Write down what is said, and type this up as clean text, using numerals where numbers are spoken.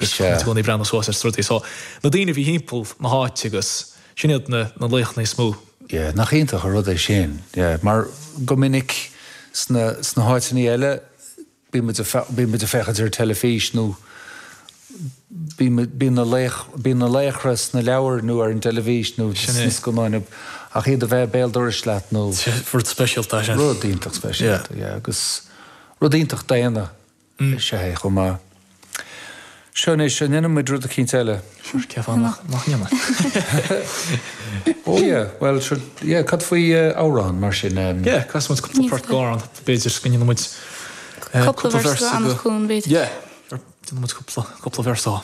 Is ea. I gcónaí ag breathnú suas ar rudaí. So, na daoine a bhí thimpeall na háite agus sin iad na na laochanna is mó. Yeah, nach iontach an rud é sin. Yeah, mar go minic sna sna háiteanna eile bíonn muid ag bíonn muid ag féachaint ar teilifís nó bíonn bíonn na laoch bíonn na laochra sna leabhair nó ar an dteilifís nó sna scannáin ach iad a bheith béal dorais leat nó Rud speisialta é sin. Rud iontach speisialta, yeah, agus rud iontach daonna. Is ea é chomh maith. Seo anois, an ndéanfaidh muid rud eicínt eile? Sure, cén fáth nach ndéanfaidh? Oh yeah, well sure, yeah, cad faoi amhrán mar sin? Yeah, casfaidh muid cúpla port d'amhrán, b'fhéidir go ndéanfaidh muid cúpla véarsa go. Cúpla véarsa d'Anach Cuain, b'fhéidir. Yeah, déanfaidh muid cúpla, cúpla véarsa.